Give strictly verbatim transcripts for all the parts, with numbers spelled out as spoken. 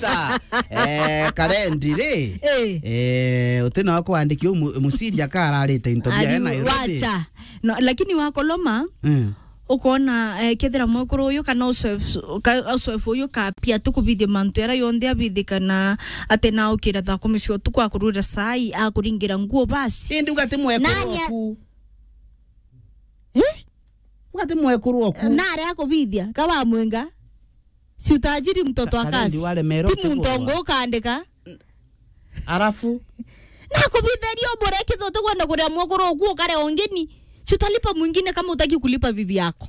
Sa, eh, Karendi ri? Eh. Eh, utina wa kwandiki u mu-, musiria kararite into bia Ari, Nairobi. Wacha. No, lakini wakoloma, mm, ukona, eh, kethira mwekuru uyu kana usoefu, ka-, usoefu uyu kapia tukubithia mantu yara yonthe abithikana ati na ukira thaa kumi cia utuku akurura sai, akuringira nguo basi. Indi ugati mwekuru Nanya- oku. Eh? Ugati mwekuru oku. Nare akubithia, kawa mwenga. Si utajiri mtoto wa Karendi kazi. Wale mero Ti muntu tegwa. Ongo ukandika. Arafu? Na kubithiria ubure kitho tukwenda kuria mwekuru oku ukare ongeni. Si utalipa mwingine kama utaki kulipa bibi yako.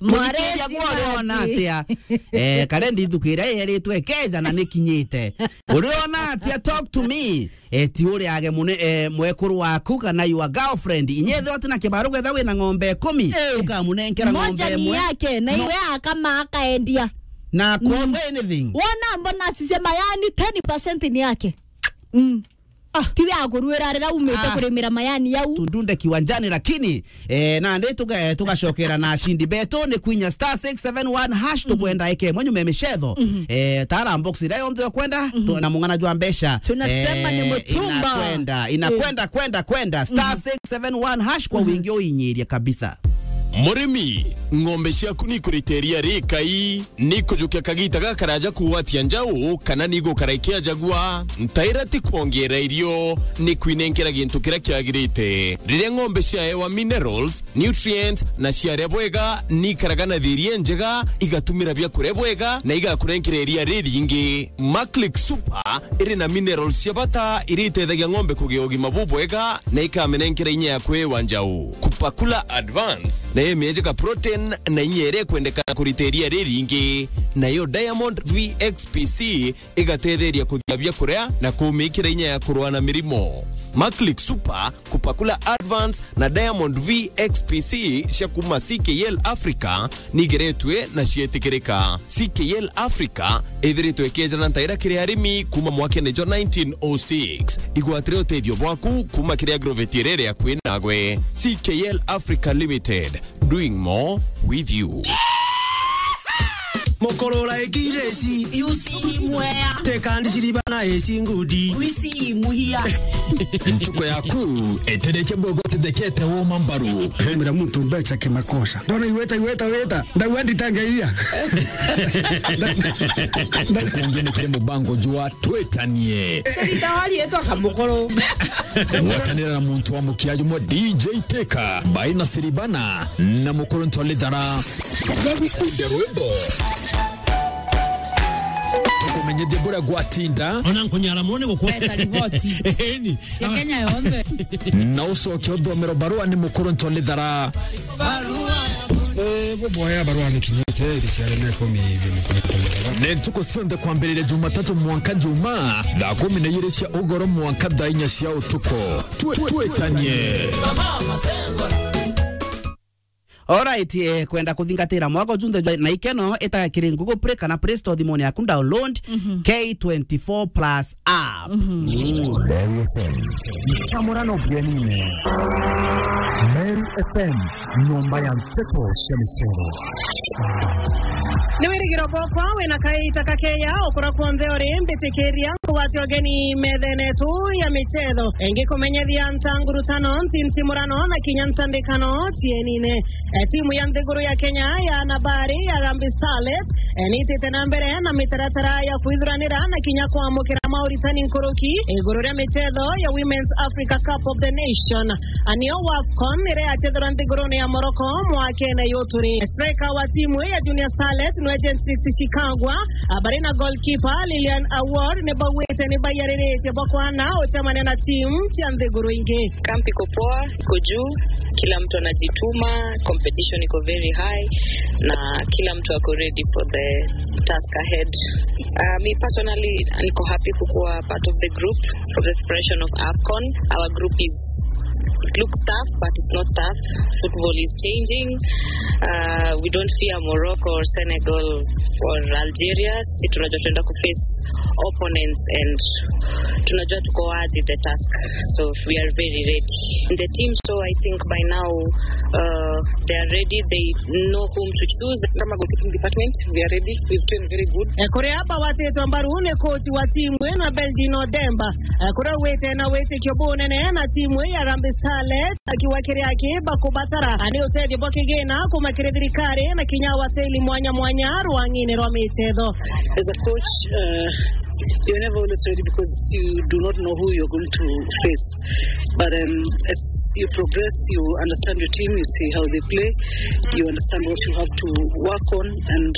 Mwaresi Muthikiria gwa uriona mati. Atia? Eh, Karendi ithuku iria yeritwe keja na nikinyite. Uriona atia? Talk to me. Eh, ti uriage mune, eh, mwekuru waku kana your girlfriend. Inyethe wati na kibaru getha wina ng'ombe ikumi, eh, ukamunenkera ng'ombe Moja ni imwe. Yake, na No. Iwe akama akaendia. Na kwogwe anything. Wona mbona asisema yani ten percent ni yake. Mm. Ah. Tiwe agurwira rira umite Ah. Kurimira mayani yau. Tundunde kiwanjani, lakini, eh, nandi tuga-, tugacokera na ashindi betu ni kwinya star six seven one hash, tukwenda eke mwenyu me micetho. Mhm. Eh, tara box iria yonthe ukwenda, tu-, na mung'ana jwa mbeca. Tunasema ni mutumba. Inakwenda, inakwenda, kwenda, kwenda. Star six seven one hash kwa wingi uinyirie kabisa. Murimi, ng'ombe ciaku ni ikurite iria rikai? Ni kujukia kagita gakaraja kugwatia njau, kana ni gukara ikiajagua? Ntaira ti kwongeera irio, ni kwinenkera gintu kiria kiagirite. Riria ng'ombe ciaewa minerals, nutrients, na ciaria bwega, ni ikaraga na thiiri injega, igatumira biakuria bwega, na igakurenkera iria riringi. Maclick Super iri na minerals cia bata iria itethagia ng'ombe kugia ugima bubwega, na ikamenenkera inya ya kwiwa njau. Kupakula Advance nayo imiejeka protein na inya iria ikwendekana kurita iria riringi. Nayo Diamond V X P C igatetheria kuthia biakuria na kumikira inya ya kurua na mirimo. Maclick Super, Kupakula Advance na Diamond V X P C cia kuma C K L Africa nigeretwe na cietikirika. C K L Africa ithiritwe ikejana ntaira kiri arimi kuma mwakene jwa nineteen oh six. Igwatire utethio bwaku kuma kiri agrovet iria iri akui nagwe. C K L Africa Limited, doing more with you. Mukurura ikireci. Yusi imwea. Tekandi ciribana eci ngudi. Wisi imuhia. Ntuku yaku itirikia bwega utithekete woma mbaru. Hemera muntu mbeca kimakosa. Ndona iweta, iweta, weta. Ndauga nditangeia. Tukungi ni kiri mubango jwa Twitanie. Rita warietwa kamukuru. Gwatanira na muntu wa mukia jumwe D J Teka, Baina Siribana, na Mukuru Ntwalithara. Tugagukunde rwimbo. Tukumenyithie buria gwatinda. Ona nkunyara mone gukwa. Leta riboti. Eni. Cia Kenya yonthe. Na ucoke uthomero barua ni Mukuru Ntwalithara. Barua. Eh, buboya barua ni kinyite, iri ciare na ikumi, ibi ni kinyite. Ni ntuku cionthe kwambiriria Jumatatu mwanka Juma, thaa kumi na igiri cia ugoro mwanka thaa inya cia utuku. Twe-, twitanie. Alright, eh, kwenda kuthingatira mwaka ujunthe jwa na ikeno ita kiri Google Play kana Play Store thimuni yaku, download K twenty-four plus app. Mm. Meru F M. Chamurano Bienine. Meru F M, nyomba ya nteto cia micero. Ni wirigiro bwakwa wina kaita kakeya ukura kwonthe uri, mbitikiria nkugwate ugeni methene yetu ya michetho. Ngikumenyethia ntangurutano, ntintimurano na kinya ntandikano cienine. Eh, timu ya nthiguru ya Kenya ya anabari ya Harambee Starlets, eh, niitite na mbere na mitaratara ya kwithuranira na kinya kwamukira mauritani nkuruki iguru ria michetho ya Women's Africa Cup of the Nation. Anio WAFCON iria yachethirwa nthigurune ya Morocco mwakene yuturi. Striker wa timu ya Junior Starlets ni Agent Sixty Shikagwa, ah, bari na goalkeeper Lilian Awor ni bauite ni baiyariritie bwa kwana uchemania na timu cia nthiguru ingi. Camp iko poa, iko juu, kila mtu anajituma, competition iko very high, na kila mtu ako ready for the task ahead. Uh, me personally, niko happy kukuwa part of the group for the preparation of AFCON. Our group is, it looks tough, but it's not tough. Football is changing. Uh, we don't fear Morocco or Senegal or Algeria. Sisi tunajua tunaenda kuface opponents and Tunajua tuko worthy the task. So we are very ready. The team, so I think by now, uh, they are ready. They know whom to choose. Kama goalkeeping department, we are ready. We've trained very good. Eh, kuria bagwatitwe mbaru ni coach wa timu ino, Belgin Odemba. Eh, kuria ugwite na witikio bunene na timu ya Harambee Starlets, akiuga kiria aki bakubatara, ah, ni utethio bwa kigina kuma kiri thirikari na kinya wateli mwanya mwanya rwang'ini rwa michezo. As a coach, uh, you're never always ready because you do not know who you're going to face. But, um, as you progress, you understand your team, you see how they play, you understand what you have to work on, and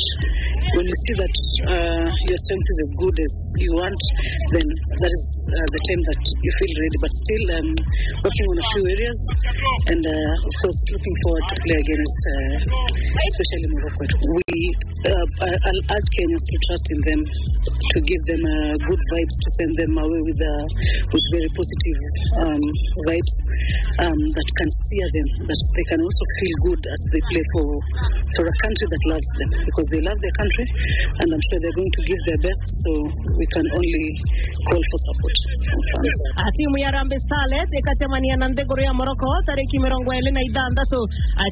when you see that, uh, your strength is as good as you want, then that is, uh, the time that you feel ready. But still, um, working on a few areas, and, uh, of course, looking forward to play against, uh, especially Morocco. We, uh, I, I'll urge Kenyans to trust in them, to give them, uh, good vibes, to send them away with, uh, with very positive, um, vibes, um, that can steer them, that they can also feel good as they play for, for a country that loves them, because they love their country, and I'm sure they're going to give their best, so we can only call for support from fans. A, timu ya Harambee Starlets ikacemania na nthiguru ya Morocco tariki mirongo iri na ithanthatu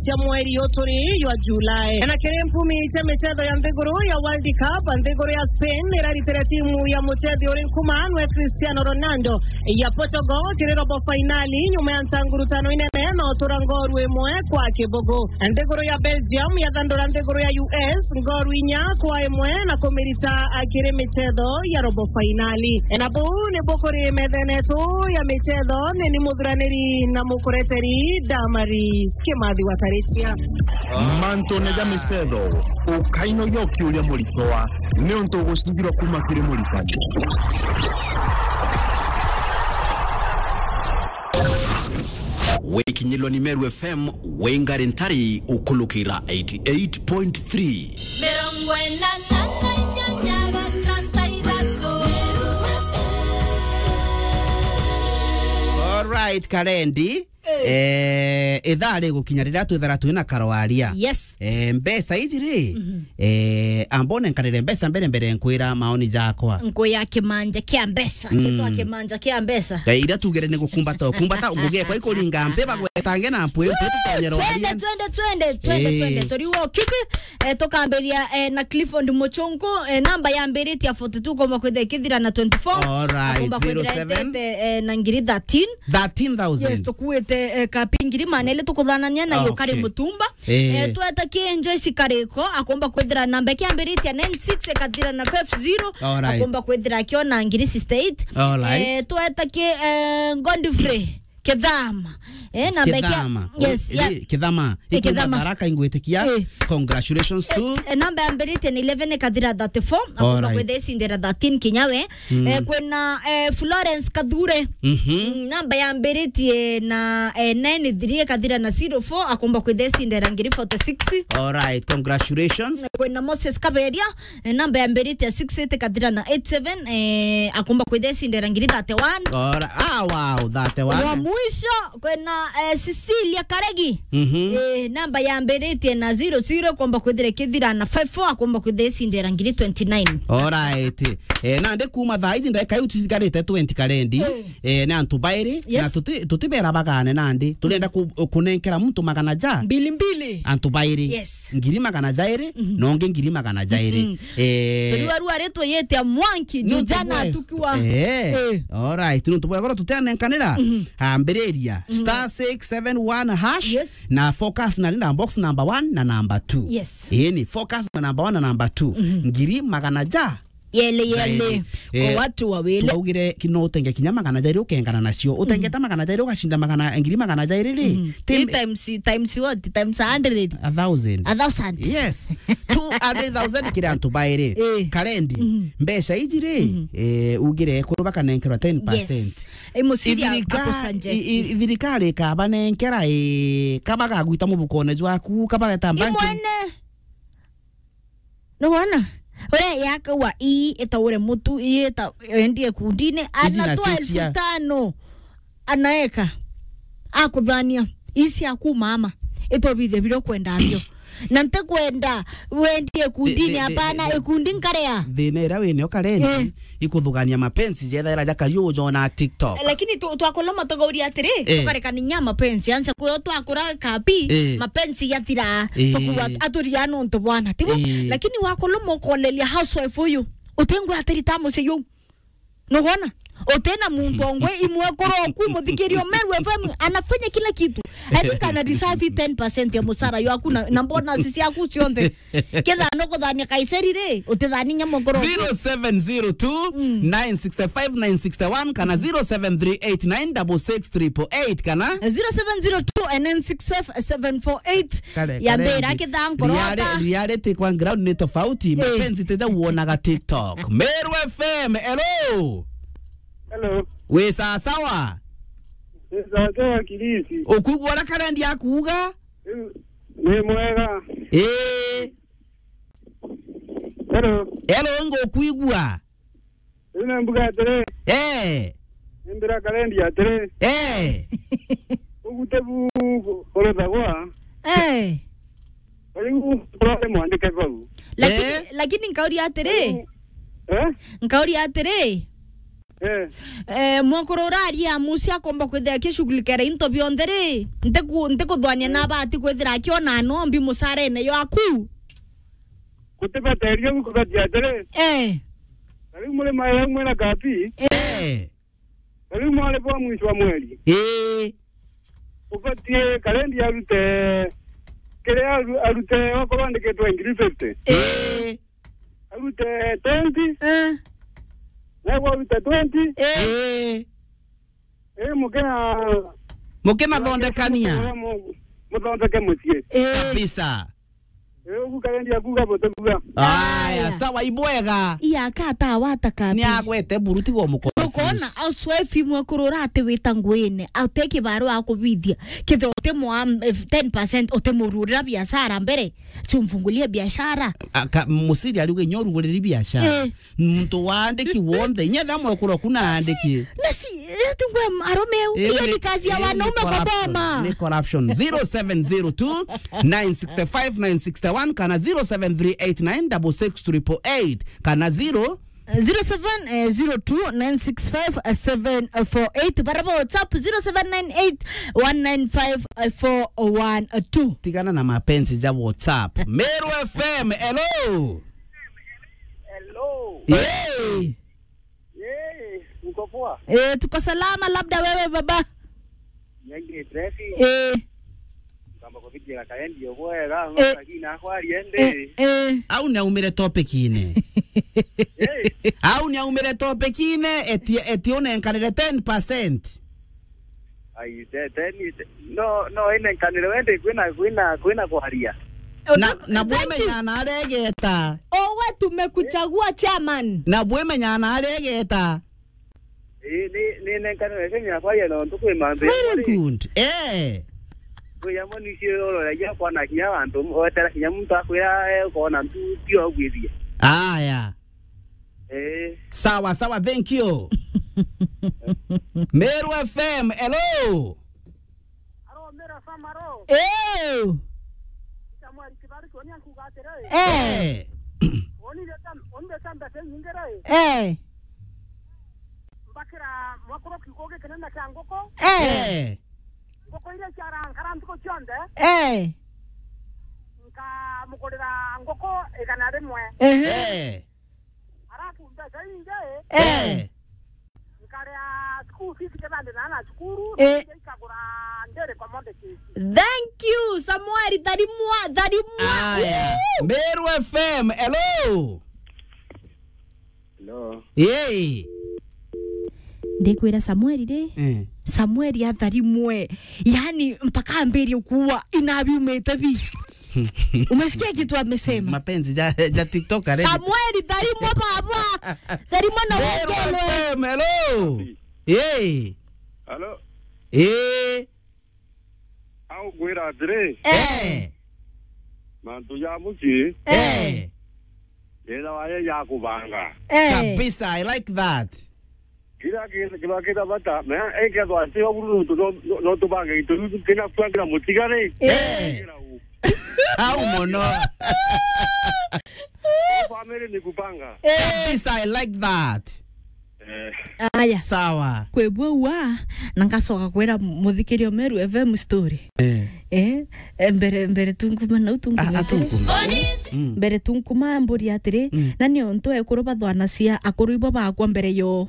cia mweri uyu turi jwa July. Na kiri mpumi cia michetho ya nthiguru ya World Cup, nthiguru ya Spain iraritire timu ya muchethi uri nkuma nwe Cristiano Ronaldo ya Portugal kiri robo fainali nyuma ya ntangurutano inene na utura ngoru imwe kwa kibugu. Nthiguru ya Belgium yathandura nthiguru ya U S ngoru inya kwa imwe na kumirita kiri michetho ya robo fainali. Na buu nibu kuri methene yetu ya michetho, ni ni muthuraniri na mukureteri Damaris Kimathi Wataritia. Mantune ja michetho, ukainogia ukiuria muritwa, niuntu ugucigirwa kuma kiri muritani. Wikinyilwa ni Meru F M, wingari ntari ukulukira eighty eight point three. Mirongo ina na inyanya gatanthaithatu. All right, Karendi. Eh. Eh, ithaa rigukinya riria twithara twina karoaria. Yes. Eh, mbeca iji ri, mhm, eh, ambone nkarire mbeca mbere mbere nkwira maoni jakwa. Nkuya kimanja kia mbeca, mm, kitwa kimanja kia mbeca. Eh, iria tugire ni gukumbata, kumbata ngugi ekwa ikuringa mpi bagwetange na mpwi, mpwi tutonye roaria. Twende, twende, twende, twende, eh, twende. Turiwo kiki, eh, tukambiria, eh, na Clifford Muchungu, eh, namba yambiritie forty two, komba kwithira ikithira na twenty four. All right, akomba kwithira zero seven, itete, eh, na ngiri thirteen. Thirteen thousand. Yes, tukuite, eh, kapi ngiri maana ile tukuthanania na, okay, yukari mutumba. Eh. Eh, tweta ki Joyce Kariko, akomba kwithira namba kiambiritie nine six, ikathira na five zero. All right. Akomba kwithira akiona ngiri sixty eight. All right. Eh, tweta ki, eh, Godfrey Kithama. Eh, namba kia-, Kithama. Yes, oh, ya-, ri-, Kithama. Eh, ikuma Kithama. Tharaka ingwitikia. Eh. Congratulations to. Eh, eh, namba yambiritie na eleven ikathira thirty four. Akomba, all right, kwithira icindira thirteen kinya we. Mm. Eh, kwina, eh, Florence Kathure. Mhm. Mm, namba yambiritie na, eh, nine three ikathira na zero four, akomba kwithira icindira ngiri forty six. All right, congratulations. Kwina Moses Kaberia, eh, namba yambiritie six eight ikathira na eight seven, eh, akomba kwithira icindira ngiri thirty one. All right. Ah, wow, thirty one. Wa mwisho, kwina, eh, Cecilia Karegi. Mhm. Eh, namba yambiritie na zero zero, komba kwithira ikithira na five four, akomba kwithira icindira ngiri twenty nine. All right. Eh, nandi kuma thaa iji ndagika iu cicigarite twenty Karendi, eh, eh, ni antu bairi, yes, na tuti-, tutibera bagane nandi. Turenda ku-, kunenkera muntu magana ja? Mbili mbili. Antu bairi. Yes. Ngiri magana jairi, mhm, na ungi ngiri magana jairi. Mhm. Eh, turiwa rua ritwe yete mwanki, ni untu jana bwe-, tukiwa. Eh. Eh. All right, ni untu bwegoro tutenenkanira. Mhm. Ambiriria, mhm, star six seven one hash, yes, na focus na rinda box number one na number two. Yes. Ii ni focus na number one na number two. Mhm. Ngiri magana ja? Yele, yele. Jairi. Kwa, eh, watu wawili. Twaugire ki-, no utenge kinya magana jairi ukengana nacio. Utengete, mhm, magana jairi ugacinda magana, ngiri magana jairi ri? Mhm. Tim-, ii times, times what? Times a hundred? A thousand. A thousand. Yes. Two hundred thousand kiri antu bairi. Eh. Karendi. Mhm. Mbeca iji ri, mhm, eh, ugire ekuru bakanenkerwa ten percent. Yes. Imuciria. Ithirika-, akusuggest. I-, i-, thirikari ikabanenkera, ii, kabagagwita mubukone jwaku, kabageta banking. Imwene. Nuwona? Uria yakaua ii itaure mutu, ii ita-, endie kundine, iji anatoa nacio cia elfu tano. Anaeka. Akuthania. Ii cia kumama. Itobithia biria ukwenda bio. Na ntikwenda wendie ikundini, thi-, thi-, hapana, thi-, ikundi nkarea. Thina iria winio karendi, eh, ikuthugania mapenzi jethaira jakari ujona TikTok. Lakini tu-, twakoloma tugauria atiri, eh, tukarekania mapenzi, ansa kuyo twakura kapi, eh, mapenzi yathira, eh, tukuwa aturia nontu bwana, tibu? Eh. Lakini wakoloma ukoneria housewife uyu, utingwe atirita mucii yu. Nugona? Utina muntu ongwe imwe kuru oku muthikirio Meru F M anafanya kila kitu. I think ana deserve ten percent ya musara yaku na, na bonus ciaku cionthe. Ketha nukuthania Kaiseri ri, utithani nyamukuru. Zero seven zero two, nine six five, nine six one kana zero seven three eight nine double six triple eight kana zero seven zero two nine six five seven four eight. Kare, ya kare, mbira ndi-, kitha nkoro reality, ta reality kwa ground ni tofauti. Eh. Mapenzi teja uonaga TikTok. Meru F M, hello. Hello. Wi sawa sawa? Wi sawa sawa, Kirisi. Ukuigua uria karendi akuuga? Ni mwega. Ii. Hello. Hello, ngukwigua. Riu ni mbuga atiri. Eh. Ni mbira karendi atiri. Eh. Ugute bu kuruthagwa. Eh. Riu kurore mwandike bau. Lakini, eh, lakini nkauria atiri. Eh? Nkauria atiri. Eh. Eh, mwakuru uraria musi akomba kwithira akishughulikira into bionthe ri, ntiku-, ntikuthwania na abati kwithira akiona nombi musarene yaku. Gutibateria gu kubatia atiri. Eh. Na riu muri maira mwina kapi. Eh. Na riu mwari bwa mwisho wa mweri. Eh. Ubatie karendi arute, kiria aru-, arute okorwo andikitwe ngiri fifty. Eh. Arute twenty. Eh. Nagwe arute twenty. Eh. Eh. Eh, mukina-, mukinathondekania. Mu-, muthondeke mucii. Eh. Kabisa. Eh, ugu karendi akuga butikuga. Aya, aya. Sawa, ibwega. Iya, kata wata kapi. Ni agwete buru, tiga umukonfuse. Ukona housewife imwe kurura ati wita nguine, ate kibaru akubithia. Kithira utimwa, eh, ten percent utimururira biashara mbere. Si umfungulie biashara. Aka-, musiri ariuga inya uruguriri biashara. Eh. Muntu waandiki wonthe, inya tha mwekuru kuna aandiki. Na si, eh, tungwe arume u. Eh, iyo ni, ni kazi ya, eh, wanaume ni kwa corruption, boma. Ni corruption. Zero seven zero two, nine six five, nine six one kana zero seven three eight nine double six triple eight kana zero zero seven zero two nine six five seven four eight. Baraba WhatsApp zero seven nine eight one nine five four one two. Tigana na mapenzi ja WhatsApp. Meru F M, hello. Hello. Hey. Hey, uko poa? Eh, tuko salama, labda wewe baba. Nyange Trefi. Eh. Kamba kubitia kaendi obwega, eh, lakini akwari ende. Eh, eh. Au ni aumire topic ine. Eh. Au ni aumire topic ine, eti, eti unenkanire ten percent. Ai, te-, teni, te-, no, no, ine nkanire wende kwina, kwina, kwina kwaria. Na, na bwemenya na aregeta. Owe tumekuchagua chairman. Na bwemenya na aregeta. Ii, ni, ni nenkanire Kenya kwaria nontu kwi mambi. Very good. Eh. Kwi yamo ni cio uroragia kwana kinya antu, wetera kinya muntu akwira, eh, ukona ntu tio gwithia. Aya. Eh. Sawa, sawa, thank you. Meru F M, hello. Aro, Meru F M, aro. Eh. Samuel Kibari, koni ankuga atiri. Eh. Eh. Oni leta, oni leta mbete nyingi ri. Eh. Mbakira mwakuru kiugo gikinene kia nguku. Eh. Eh. Nguku iria ciarankara ntuku cionthe. Eh. Nkamugurira nguku igana rimwe. Ehe. Eh. Arafu mbeca ingi, eh, nkaria school fees kethira ndi na ana cukuru, eh, ingi ikagura daily commodities. Thank you, Samuel, tharimwa, tharimwa. Aya. Woo! Meru F M, hello. Hello. Hey. Ndikwira Samuel ri. Eh. Samuel atharimwe. Yani mpaka ambirie kuwa inabiumite bi. Umesikia kitu amesema? Mapenzi ja, ja TikTok, eh. Samuel, tharimwa baba. Tharimwa na Meru wekelwe. F M, hello. Hey. Hello. Eh. Au ngwira atiri, eh, mantu ja mucii, eh, yethawa ye ya kubanga. Eh. Kabisa, I like that. Kila kintu kiba kina bata, na ikethwa ti o buru nontu no, no, no tubange into biu kina kwangira mutigari. Eh. Kira u. Au mono. Family ni kupanga. Kabisa, I like that. Eh. Aya. Sawa. Kwebua ua na ngacoka kwira muthikirio Meru F M story. Eh. Eh, eh, mbere mbere tunkuma nau tunkuma Ah, atiri. atunkumba. Mm. Mbere tunkuma mburi atiri, Mm. na ni ontu ekuru bathwanacia akuru ibo bakwa mbere yo